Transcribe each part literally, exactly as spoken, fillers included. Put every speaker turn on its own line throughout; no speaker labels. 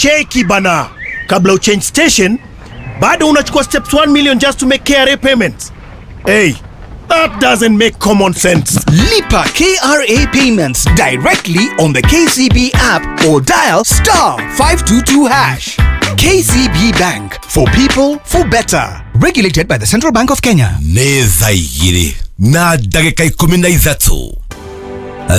Cheki bana, kabla uchange station, bado unachukua steps one million just to make K R A payments. Hey, that doesn't make common sense.
Lipa K R A payments directly on the K C B app or dial star five two two hash. K C B Bank, for people, for better. Regulated by the Central Bank of Kenya.
Nĩ thaa igĩrĩ na ndagĩka ikũmi na ithatũ.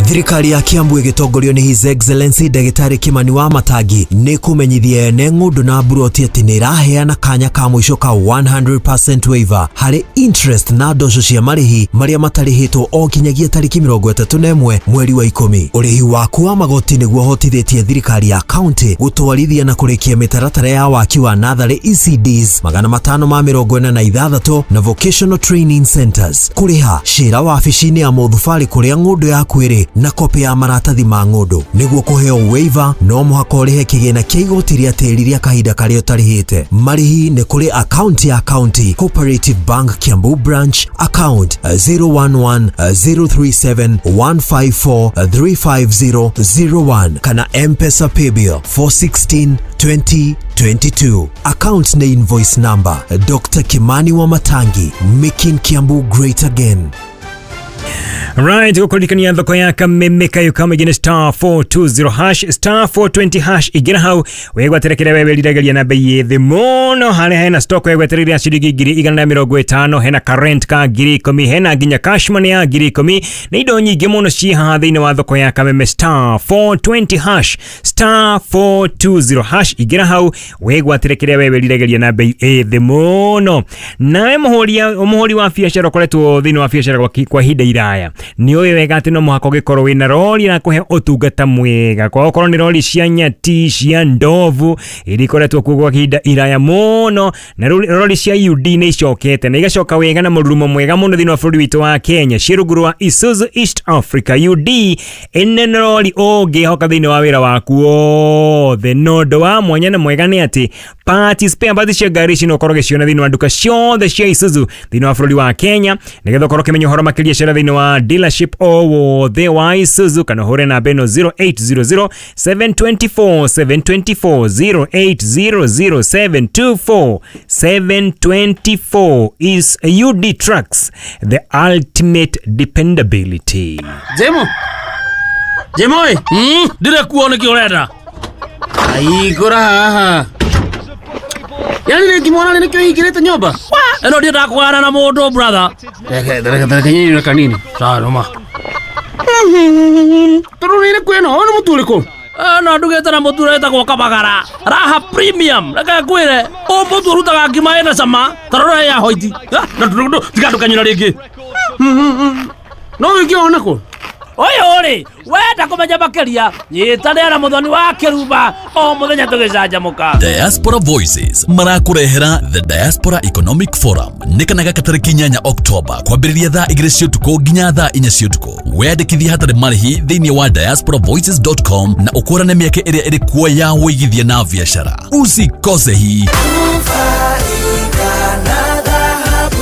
Thirikari ya Kiambu ĩgĩtongorio nĩ His Excellency Ndagĩtarĩ Kimani wa Matangi nĩ kũmenyithia ene ng'ũndũ na mburoti atĩ nĩ ĩraheana kanya ka mũico ka one hundred percent waiver harĩ interest na ndoco cia marĩhi marĩa matarĩhĩtwo o nginyagia tarĩki mĩrongo ĩtatũ na ĩmwe mweri wa ikũmi. Ũrĩhi waku wa magoti nĩguo ũhotithĩtie thirikari ya kaunti gũtwarithia na kũrĩkia mĩtaratara ya waki wa natharĩ E C Ds magana matano ma mĩrongo ĩna na ithathatũ na vocational training centers. Kũrĩha cira wabici-inĩ ya mũthubarĩ kũrĩa ng'ũndũ yaku ĩrĩ na kopi ya maratathi ma ng'ũndũ. Nĩguo kũheo waiver no mũhaka ũrĩhe kĩgĩna kĩa igoti rĩa tĩri rĩa kahinda karĩa ũtarĩhĩte. Marĩhi nĩ kũrĩ account ya County Cooperative Bank Kiambu Branch, account zero one one zero three seven one five four three five zero zero one kana M-Pesa Paybill four sixteen twenty twenty-two. Account na invoice number Doctor Kimani Wamatangi, making Kiambu great again.
Right, gukurikania thoko ya Kameme kayo kama igine star four two zero hash star four twenty hash igina hau wegwatere kire wewe rirageria na bei thi muno hale hena stock wegwatereria ciringi ngiri igana na mirongo itano, hena current ka ngiri ikumi, hena nginya cash money ya ngiri ikumi na indo nyingi muno ci haha thiini wa thoko ya Kameme star four twenty hash star four two zero hash igina hau wegwatere kire wewe rirageria na bei thi muno. Nawe muhuri muhuri wa biacara ukoretwo thiini wa biacara kwa ihinda iraya ni ũĩ wega atĩ no mũhaka ũgĩkorwo wĩna rori na kũhe ũtungata mwega kwa okorwo nĩ rori cia nyati cia ndovu iria ikoretwo kuo gwa ihinda iraya mũno, na rori cia U D nĩ icokete na igacoka wega na mũrurumo mwega mũno thĩinĩ wa bũrũri witũ wa Kenya ciĩ rungu rwa Isuzu East Africa U D ĩno nĩ rori ũngĩhoka thĩinĩ wa wĩra waku wothe. Na ũndũ wa mwanya na mwega nĩ atĩ parts spare parts cia ngari ici no ũkorwo ũgĩciona thĩinĩ wa nduka ciothe cia Isuzu thĩinĩ wa bũrũri wa Kenya nĩgetha ũkorwo ũkĩmenya ũhoro makĩria cera thĩinĩ wa dealership o wothe wa Isuzu kana ũhũre namba ĩno zero eight zero zero seven two four seven two four zero eight zero zero seven two four seven two four is U D Trucks, the ultimate dependability.
Jemo Jemo mm ndire kuo nĩkĩ ũrenda aigũra haha yani nĩngĩmwona nĩkĩo hingĩrĩte nyũmba ĩno ndiendaga kũgana na mũndũ brother. Reke reke reke nyinyi kanini sawa noma tondũ nĩ kwĩna ũyũ nĩ mũtu ũrĩkũ? No ndugĩte na mũtu ũretagwo Kabagara Raha Premium. Reke ngwĩre ũyũ mũtu ũrutaga ngima ĩna cama ta rora ya hoiti tiga ndũkanyũra rĩngĩ no wĩngĩona kũ ũyũ rĩ wenda kũmenya makĩria nyitanĩra na Mũthoni wa Kĩrumba o mũthenya tũgĩcanjamũka.
Diaspora Voices marakũrehera The Diaspora Economic Forum nĩ kana gaka tarĩki inyanya October kwambĩrĩria thaa igĩrĩ cia ũtukũ nginya thaa inya cia ũtukũ. Weyandĩkithie hatarĩ marĩhi thĩinĩ wa diaspora voices dot com na ũkũrane mĩeke ĩrĩa ĩrĩ kuo ya wĩigithia na biacara. Usikose hii.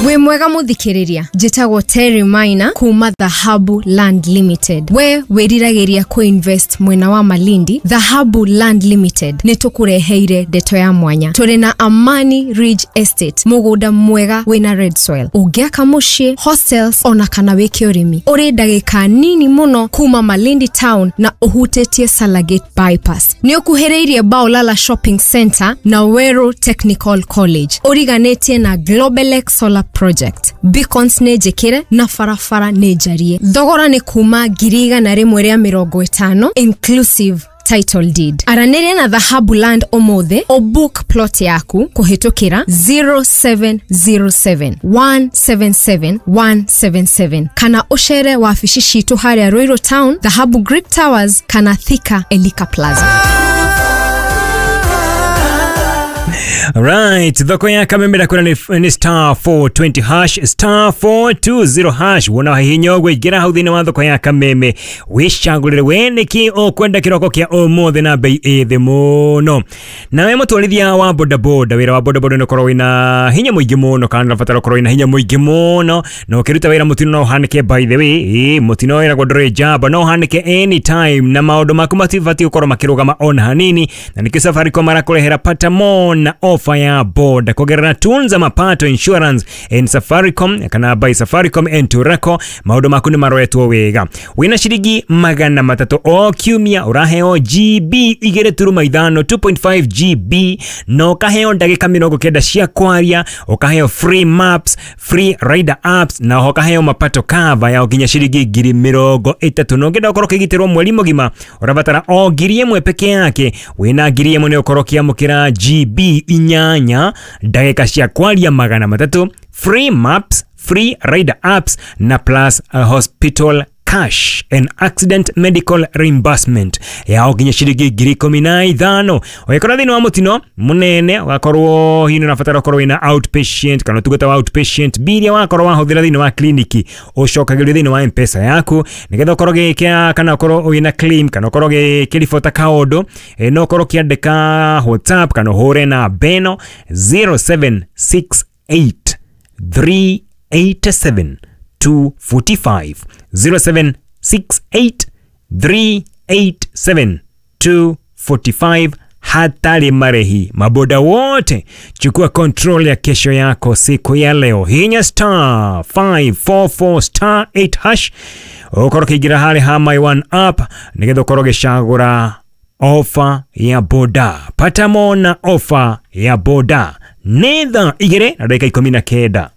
Wĩ mwega mũthikĩrĩria, njĩtagwo Terry Maina kuma Dhahabu Land Limited. We wĩriragĩria kũ-invest mwena wa Malindi, Dhahabu Land Limited nĩ tũkũreheire ndeto ya mwanya. Tũrĩ na Amani Ridge Estate, mũgũnda mwega wĩna red soil. Ũngĩaka mũciĩ, hostels ona kana wĩke ũrĩmi. Ũrĩ ndagĩka nini mũno kuma Malindi town na ũhutĩtie Salagate bypass. Nĩ ũkuhĩrĩirie Baolala Shopping Center na Weru Technical College. Ũriganĩtie na Globelex Solar Project. Beacons nĩ njĩkĩre na barabara nĩ njarie. Thogora nĩ kuma ngiri igana rĩmwe rĩa mĩrongo ĩtano inclusive title deed. Aranĩria na Dhahabu Land ũmũthĩ o book plot yaku kũhĩtũkĩra zero seven zero seven one seven seven one seven seven kana ũcere wabici citũ harĩa Ruiru Town, Dhahabu Greek Towers kana Thika Elika Plaza.
Right, thoko ya kameme ndakwĩra nĩ nĩ star four twenty hash, star four two zero hash. Wona hihinya ũguo, ingĩra hau thĩinĩ wa thoko ya kameme, wĩcagũrĩre we nĩkĩ ũkwenda kĩroko kĩa ũmũthĩ na bei ĩ thĩ mũno. Nawe mũtwarithia wa bodaboda, wĩra wa bodaboda nĩ ũkorwo wĩna hinya mũingĩ mũno, kana ũrabatara ũkorwo wĩna hinya mũingĩ mũno, na ũkĩruta wĩra mũtino no ũhanĩke. By the way, ĩ mũtino wĩragwo ndũrĩ njamba, no ũhanĩke anytime, na maũndũ maku matibatiĩ gũkorwo makĩrũgama ona hanini. Na nĩkĩo Safaricom marakũrehera pata more na ofa ya boda kugerera Tunza Mapato Insurance and Safaricom, kana by Safaricom and Turaco. Maũndũ maku nĩ maroretwo wega. Wĩna ciringi magana matatũ o kiumia, ũraheo G B igĩrĩ turuma ithano, two point five G B, na ũkaheo ndagĩka mĩrongo kenda cia kwaria, ũkaheo free maps, free rider apps, na oho ũkaheo mapato cover ya nginya ciringi ngiri mĩrongo ĩtatũ. Na ũngĩenda ũkorwo ũkĩgitĩrwo mweri mũgima, ũrabatara o ngiri ĩmwe peke yake. Wĩna ngiri ĩmwe nĩ ũkorwo ũkĩamũkĩra G B inyanya, ndagĩka cia kwaria magana matatũ, free maps, free rider apps, na plus uh, hospital cash and accident medical reimbursement yao nginya ciringi ngiri ikũmi na ithano. Ũgĩkorwo thĩinĩ wa mũtino mũnene, ũgakorwo hihi nĩ ũrabatara ũkorwo wĩna outpatient kana ũtungata wa outpatient, biria wakorwo wahũthĩra thĩinĩ wa kliniki ũcokagĩrio thĩinĩ wa M-Pesa yaku, nĩgetha ũkorwo ũgĩkĩra kana ũkorwo wĩna claim kana ũkorwo ũgĩkĩribota kaũndũ, eh, no ũkorwo ũkĩandĩka WhatsApp kana ũhũre na beno zero seven six eight three eight seven two four five, zero seven six eight three eight seven two four five, hatarĩ marĩhi. Maboda wote, chukua control ya kesho yako siku ya leo. Hinya star five four four star eight hash, ũkorwo ũkĩingĩra harĩ ha My One app, nĩgetha ũkorwo ũgĩcagũra ofa ya boda. Pata mona ofa ya boda. Nĩ thaa igĩrĩ na ndagĩka ikũmi na kenda.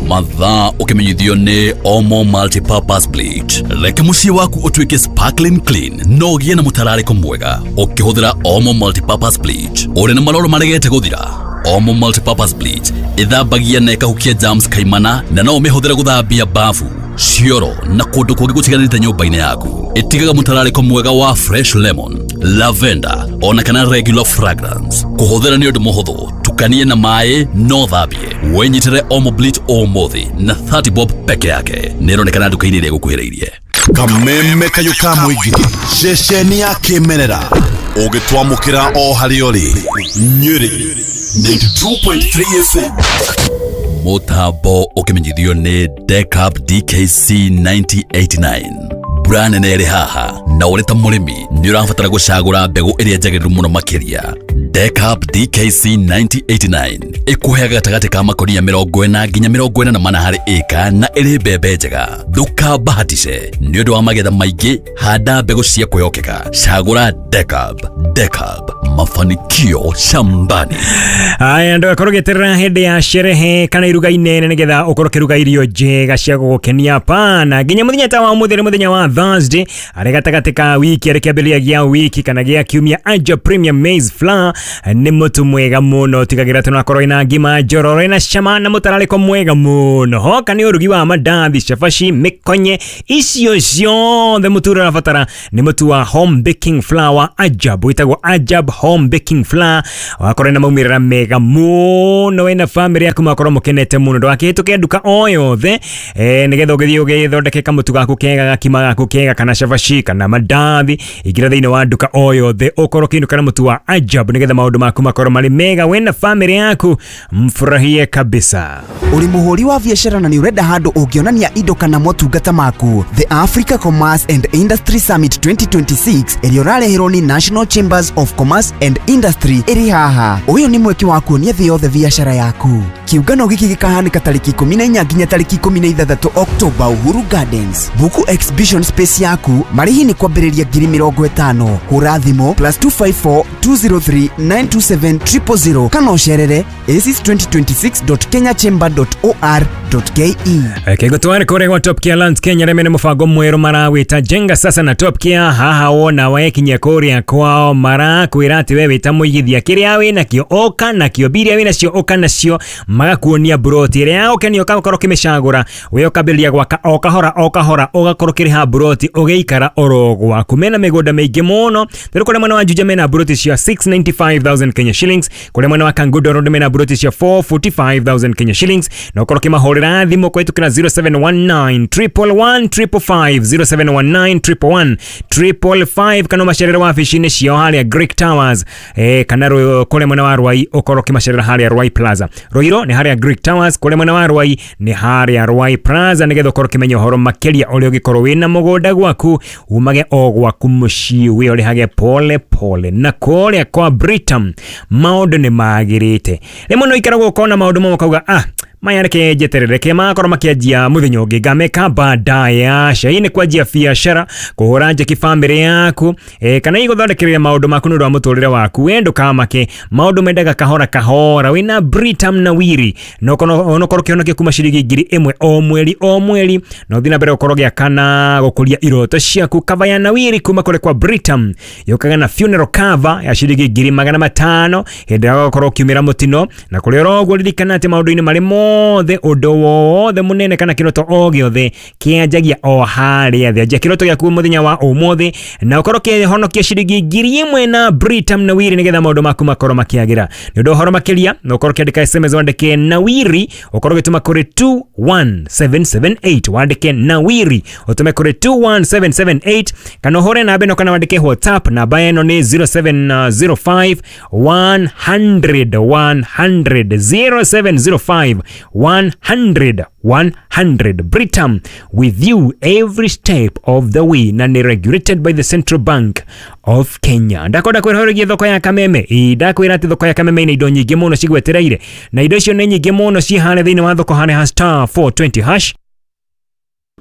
Mathaa ũkĩmenyithio nĩ Omo Multipurpose Bleach. Reke mũciĩ waku ũtuĩke sparkling clean no ũgĩe na mũtararĩko mwega ũkĩhũthĩra Omo Multipurpose Bleach. Ũrĩ na maroro maregete gũthira? Omo Multipurpose Bleach ĩthambagia na ĩkahukia germs kaimana, na no ũmĩhũthĩre gũthambia bafu, cioro na kũndũ kũngĩ gũtiganĩte nyũmba-inĩ yaku. Ĩtigaga mũtararĩko mwega wa fresh lemon, lavender ona kana regular fragrance. Kũhũthĩra nĩ ũndũ mũhũthũ, tukanie na maĩ no thambie. Wĩnyitĩre Omo Bleach ũmũthĩ na thirty bob peke yake. Nĩ ĩronekana nduka-inĩ ĩrĩa ĩgũkuhĩrĩirie.
Kameme kayũ ka mũingĩ, ceceni ya kĩmerera ũgĩtwamũkĩra o harĩa ũrĩ. Nyĩrĩ ninety-two point three F M.
Mũtambo ũkĩmenyithio nĩ Decap D K C nineteen eighty-nine. Mbura nene ĩrĩ haha, na ũrĩ ta mũrĩmi nĩ ũrabatara gũcagũra mbegũ ĩrĩa njagĩrĩru mũno makĩria. Decap D K C nineteen eighty-nine ĩkũheaga gatagatĩ ka makonia mĩrongo ĩna nginya mĩrongo ĩna na mana harĩ ĩka, na ĩrĩ mbembe njega. Ndũkabahatishe nĩ ũndũ wa magetha maingĩ. Handa mbegũ cia kwĩhokeka, cagũra Decap. Decap, mafanikio shambani.
Aya, ndũgakorwo ũgĩeterera hĩndĩ ya sherehe kana iruga inene nĩgetha ũkorwo ũkĩruga irio njega cia gũgũkenia. Pana nginya mũthenya ta wa ũmũthĩ, nĩ mũthenya wa Thursday, arĩ gatagatĩ ka wiki, arĩ kĩambĩrĩria gĩa wiki kana gĩa kiumia. Aja Premium Maize Flour nĩ mũtu mwega mũno, tigagĩra atĩ nĩwakorwo ĩna ngima njororo ĩna cama na mũtararĩko mwega mũno. Hoka nĩ ũrugi wa mandathi, cabaci, mĩkonye, icio ciothe mũtu ũrĩa ũrabatara nĩ mũtu wa home baking flour Ajab, wĩtagwo Ajab Home Baking Flour. Wakorwo na maumĩrĩra mega mũno, wĩna famĩlĩ yaku makorwo mũkenete mũno. Ndũgakĩhĩtũke nduka o yothe, eh, nĩgetha ũgĩthiĩ ũgĩthondeke kamũtu gaku kega, gakima gaku kega, kana cabaci kana mandathi. Ingĩra thĩinĩ wa nduka o yothe, ũkorwo ũkĩinũka na mũtu wa Ajab, nĩgetha maũndũ maku makorwo marĩ mega. Wĩna famĩlĩ yaku mfurahie kabisa.
Ũrĩ mũhũri wa biacara na nĩ ũrenda handũ ũngĩonania indo kana motungata maku? The Africa Commerce and Industry Summit twenty twenty-six ĩrĩa ũrareherwo nĩ National Chambers of Commerce and Industry ĩrĩ haha. Ũyũ nĩ mweke wa kuonia thĩ yothe biacara yaku. Kĩũngano gĩkĩ gĩkahanĩka tarĩki ikũmi na inya nginya tarĩki ikũmi na ithathatũ October, Uhuru Gardens. Buku exhibition space yaku. Marĩhi nĩ kwambĩrĩria ngiri mĩrongo ĩtano. Hũra thimũ plus two five four two zero three nine two seven zero zero zero kana ũcerere aces twenty twenty-six dot kenyachamber dot org dot K E.
Kĩgũtware kũrĩa gwa Top Care Lands Kenya, rĩmwe nĩ mũbango mwerũ marawĩta Jenga Sasa na Top Care. Haha wona wekinyia kũrĩa kwao, marakwĩra atĩ we wĩta mũigithia, kĩrĩa wĩ nakĩo ũka nakĩo, biria wĩ nacio ũka nacio. Magakuonia broti ĩrĩa yagũkenia ũgakorwo ũkĩmĩcagũra, we ũkambĩrĩria gwaka o kahora o kahora, ũgakorwo ũkĩrĩha broti ũgĩikara oro gwaku. Mena mĩgũnda mĩingĩ mũno. Rĩu kũrĩa mwena wa Juja mena broti cia six ninety five thousand Kenya shillings, kũrĩa mwena wa Kangundo Road mena broti cia four forty five thousand Kenya shillings, na ũkorwo ũkĩmahũrĩra thimũ kũhĩtũkĩra zero seven one nine triple one triple five, zero seven one nine triple one triple five, kana ũmacerere wabici-inĩ ciao harĩa Greek Towers, eh, kana kũrĩa mwena wa Ruai ũkorwo ũkĩmacerera harĩa Ruai Plaza. Ruiru nĩ harĩa Greek Towers, kũrĩa mwena wa Ruai nĩ harĩa Ruai Plaza, nĩgetha ũkorwo ũkĩmenya ũhoro makĩria ũrĩa ũngĩkorwo wĩna mũgũnda gwaku, umage o gwaku mũciĩ wĩ ũrĩhage pole pole. Na kũrĩa kwa Britam maũndũ nĩ magĩrĩte. Rĩmwe no ikaragwo ũkona maũndũ mamwe ũkauga ah, maya reke njeterere ke makorwo makĩanjia mũthenya ũngĩ ngameka baadaye. Aca, hii nĩ kwanjia biacara, kũhũra njeki bamĩrĩ yaku, eh, kana igũthondekereria maũndũ maku nĩ ũndũ wa mũtũrĩre waku. We ndũkamake, maũndũ mendaga kahora kahora. Wĩna Britam na Wiri no onokorwo ũkĩhonokia kuma ciringi ngiri ĩmwe o mweri o mweri, na ũthiĩ na mbere gũkorwo ũgĩaka na gũkũria iroto ciaku. Cover ya Nawiri kuma kũrĩ kwa Britam yũkaga na funeral cover ya ciringi ngiri magana matano hĩndĩ ĩrĩa ũgakorwo ũkiumĩra mũtino. Na kũrĩ oro ũguo ririkana atĩ maũndũ-inĩ marĩ mothe, ũndũ wothe mũnene kana kĩroto o gĩothe kĩanjagia o harĩa thĩ. Anjia kĩroto gĩaku mũthenya wa ũmũthĩ na ũkorwo ũkĩhonokia ciringi ngiri ĩmwe na Britam Nawiri, nĩgetha maũndũ maku makorwo makĩagĩra. Nĩ ũndũ ũhoro makĩria no ũkorwo ũkĩandĩka S M S wandĩke Nawiri, ũkorwo ũgĩtũma kũrĩ two one seven seven eight, wandĩke Nawiri ũtũme kũrĩ two one seven seven eight, kana ũhũre namba ĩno kana wandĩke WhatsApp. Namba ĩno nĩ zero seven zero five one hundred one hundred, zero seven zero five one hundred one hundred. Britam, with you every step of the way, na ni regulated by the Central Bank of Kenya. Ndakwenda kwĩroreria thoko ya Kameme. Ndakwĩra atĩ thoko ya Kameme ina indo nyingĩ mũno cigwetereire, na indo icio nĩ nyingĩ mũno ciĩ harĩa thĩinĩ wa thoko harĩa ha star four twenty hash.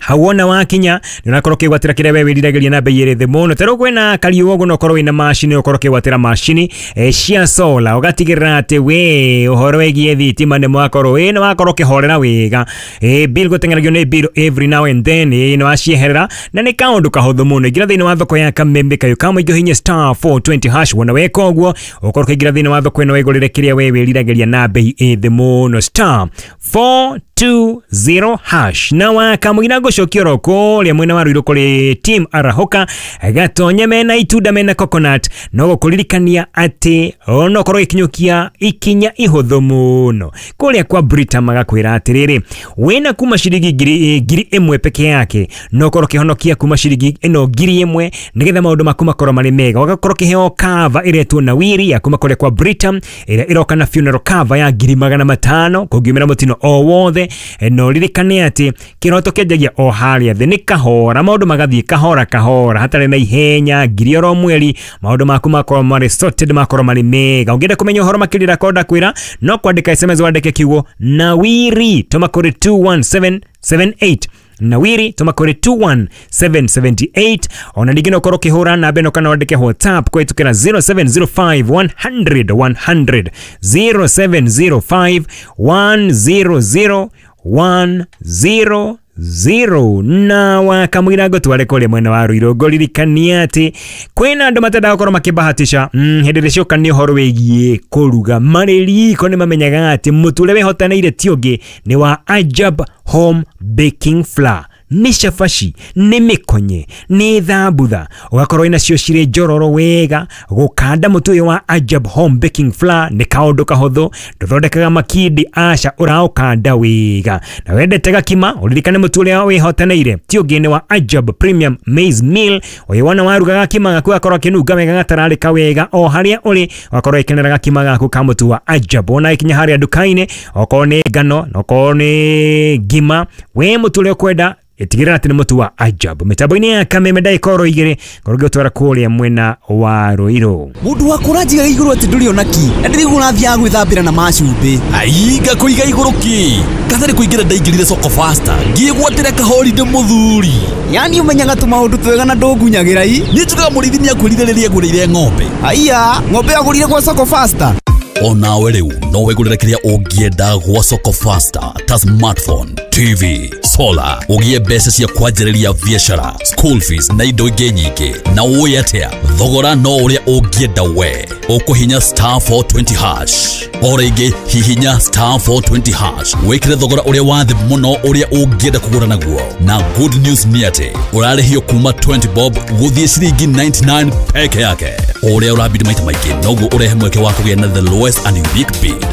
Hauona wakinya nĩ ũrakorwo ũkĩgwatĩra kĩrĩa we wĩriragĩria na bei ĩrĩ thĩ mũno. Ta rĩu kwĩna kariũa ũguo no ũkorwo wĩna macini, ũkorwo ũkĩgwatĩra macini eh, cia solar, ũgatigĩrĩra atĩ we ũhoro wĩgiĩ thitima nĩ mwakorwo wĩ nĩ wakorwo ũkĩhorera wega. Eh, bill gũteng'eragio nĩ bill every now and then, eh, nĩ wacieherera na nĩ kaũndũ kahũthũ mũno. Ingĩra thĩinĩ wa thoko ya Kameme kayũ ka mũingĩ ũhihinye star four twenty hash. Wona weka ũguo ũkorwo ũkĩingĩra thĩinĩ wa thoko ĩno wĩgũrĩre kĩrĩa we wĩriragĩria na bei ĩ thĩ mũno, star four two zero hash. Na wakamũira ngũcokia oro kũrĩa mwena wa Ruiru kũrĩ team Arahoka gatonye mena itunda mena coconut, no gũkũririkania atĩ ona ũkorwo ũgĩkinyũkia ikinya ihũthũ mũno kũrĩa kwa Britam magakwĩra atĩrĩrĩ, wĩna kuma ciringi ngiri ngiri ĩmwe peke yake no ũkorwo ũkĩhonokia kuma ciringi ĩno ngiri ĩmwe nĩgetha maũndũ maku makorwo marĩ mega. Ũgakorwo ũkĩheo cover ĩretwo Nawiri ya kuma kũrĩa kwa Britam ĩrĩa ĩroka na funeral cover ya ngiri magana matano kũngiumĩra mũtino o wothe. No ririkane atĩ kĩroto kĩanjagia o harĩa thĩ, nĩ kahora, maũndũ magathiĩ kahora kahora hatarĩ na ihenya, ngiri oro mweri maũndũ maku makorwo marĩ sorted, makorwo marĩ mega. Ũngĩenda kũmenya ũhoro makĩria ndakorwo ndakwĩra no kwandĩka S M S wandĩke kiugo Nawiri tũma kũrĩ two one seven seven eight, Nawiri tũma kũrĩ two one seven seven eight. Ona ningĩ no ũkorwo ũkĩhũra namba ĩno kana wandĩke WhatsApp kũhĩtũkĩra zero seven zero five one hundred one hundred, zero seven zero five one zero zero one zero zero. Na wakamwira ngũtware kũrĩa mwena wa Ruiru ngũririkania atĩ kwĩna andũ matendaga gũkorwo makĩbahatisha mm, hĩndĩ ĩrĩa cioka nĩ ũhoro wĩgiĩ kũruga marĩ riko nĩ mamenyaga atĩ mũtu ũrĩa wĩhotanĩire ti ũngĩ nĩ wa Ajab Home Baking Flour. Nĩ cabaci, nĩ mĩkonye, nĩ thambutha, ũgakorwo wĩna cio cirĩ njororo wega. Gũkanda mũtu ũyũ wa Ajab Home Baking Flour nĩ kaũndũ kahũthũ, ndũthondekaga makindi, aca, ũraũkanda wega. Na wendete gakima, ũririkane mũtu ũrĩa wĩhotanĩire ti ũngĩ nĩ wa Ajab Premium Maize Meal. Ũyũ wona waruga gakima gaku gakorwo akĩnunga wega, gatararĩka wega o harĩa ũrĩ, ũgakorwo ũgĩkenera gakima gaku ka mũtu wa Ajab. Wona gĩkinya harĩa nduka-inĩ, okorwo nĩ ngano, okorwo nĩ ngima, we mũtu ũrĩa ũkwenda ĩtigĩrĩra atĩ nĩ mũtu wa Ajab. Mĩtambo-inĩ ya Kameme ndagĩka oro igĩrĩ ngorwo ngĩgũtwara kũrĩa mwena wa Ruiru.
Mũndũ waku ũranjigaga igũrũ atĩ ndũrĩ ona ki, na ndĩraigua ũrathiaga gwĩthambĩra na macumbĩ.
Ai, ngakũiga igũrũ kĩ? Katarĩ kũingĩra ndaingĩrire soko faster, ngĩgwatĩra kahoride mũthuri.
Yani ũmenyaga tũmaũndũ twega na ndũngunyagĩra i?
Niĩ njugaga mũrĩithi nĩakwĩrire rĩrĩa agũrĩire ng'ombe.
Aiya, ng'ombe agũrire gwa soko faster. Onawe rĩu no wĩgũrĩre kĩrĩa ũngĩenda gwa Soko Faster ta smartphone, T V,
Solar, ũgĩe mbeca cia kwanjĩrĩria biacara, school fees na indo ingĩ nyingĩ. Na ũĩ atĩa, thogora no ũrĩa ũngĩenda we. Ũkũhinya star four twenty hash. O rĩngĩ hihinya star four twenty hash wĩkĩre thogora ũrĩa wa thĩ mũno ũrĩa ũngĩenda kũgũra naguo. Na good news nĩ atĩ ũrarĩhio kuma twenty bob gũthiĩ ciringi ninety-nine peke yake. Ũrĩa ũrabidi maita maingĩ noguo ũrehe mweke wa kũgĩa na the lowest and unique bid.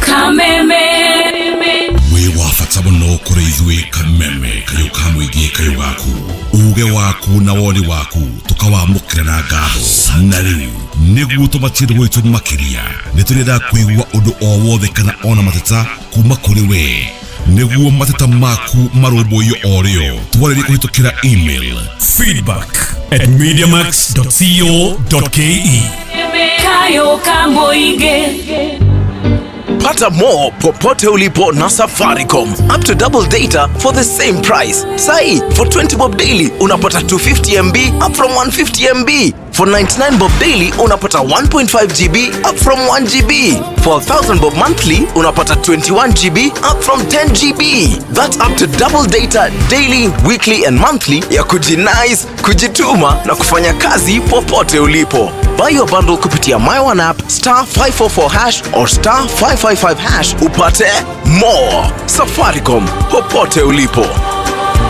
Kameme
wĩ wa bata mũno kũrĩ ithuĩ. Kameme kayũ ka mũingĩ, kayũ gaku, uge waku na woni waku tũkawamũkĩra na ngatho. Na rĩu nĩguo tũmatire gwitũ makĩria, nĩ tũrenda kũigua ũndũ o wothe kana ona mateta kuma kũrĩ we, nĩguo mateta maku marũmbũiyo o rĩo. Twarĩrie kũhĩtũkĩra email
feedback at mediamax dot co dot ke.
Kayo ka mũingĩ.
Pata more popote ulipo na Safaricom. Up to double data for the same price. Sai, for twenty bob daily unapata two fifty M B up from one fifty M B. For ninety-nine bob daily unapata one point five G B up from one G B. For one thousand bob monthly unapata twenty-one G B up from ten G B. That's up to double data daily, weekly and monthly ya kujinice, kujituma na kufanya kazi popote ulipo. Buy your bundle kupitia My One app, star five four four hash or star five five five hash upate more. Safaricom, popote ulipo.